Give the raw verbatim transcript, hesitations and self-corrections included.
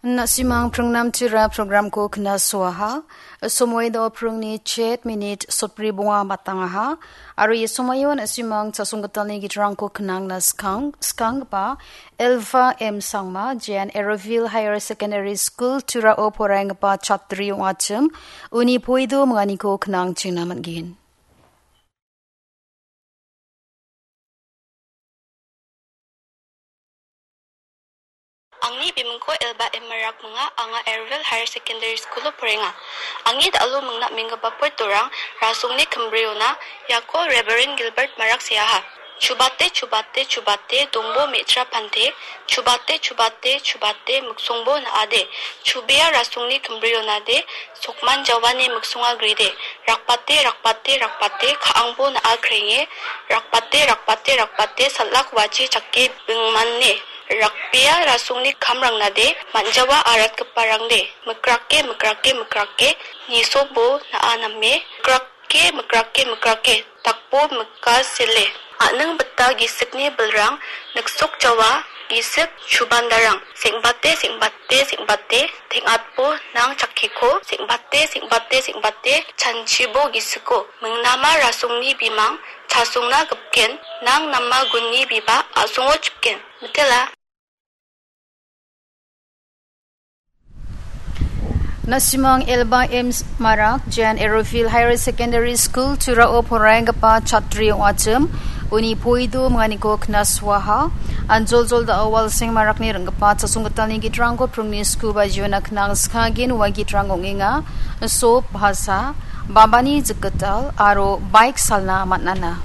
Na·simang pringnamtira programko knasoaha. Somoi do pringni chet minit sotbri bonga batangaha. Aro ia somoio na·simang chasonggitalni gitrangko knangna skang, skanggipa Elva M Sangma, Jan Eroville Higher Secondary School, Turao poraienggipa chatri ong·achim, uni poido minganiko knangchingna man·gen. Angni bimingko Elba M Marak minga, anga Ervil Higher Secondary School-o porenga. Angni da·alo mingna minggipa portorang rasongni kimbriona iako Reverend Gilbert Marak seaha. Chubate, chubate, chubate, dongbo me·tra pante, chubate, chubate, chubate, miksongbo na·ade, chubea rasongni kimbrionade, sokman jawani miksonga gride, rakbate, rakbate, rakbate, ka·angbo na·a krenge, rakbate, rakbate, rakbate, salak wachi chake bingmane, rakbea rasongni kamrangnade, man·jawa aratgiparangde, mikrake, mikrake, mikrake, nisobo na·a name, mikrake, mikrake, mikrake, dakbo mika sele. A·ning bita gisikni bilrang, niksok jawa, gisik chubandarang. Seng·bate, seng·bate, seng·bate, teng·atbo nang chakkeko, seng·bate, seng·bate, seng·bate, chanchibo gisiko. Mingnama rasongni bimang, chasongna gipken, nang nama gunni biba, a·songo chipken. Mitela. Na·simang Elba M Marak, Jan Erofil Higher Secondary School, Turao poraienggipa chatri ong·achim, uni poido minganiko knasoaha. Anjoljol da·o Walseng Marakni ring·gipa chasonggitalni gitrangko pringni sku bajiona knang skagin ua gitrang ong·enga. Sop, bhasa, bambani jikgital aro baik salna man·ana.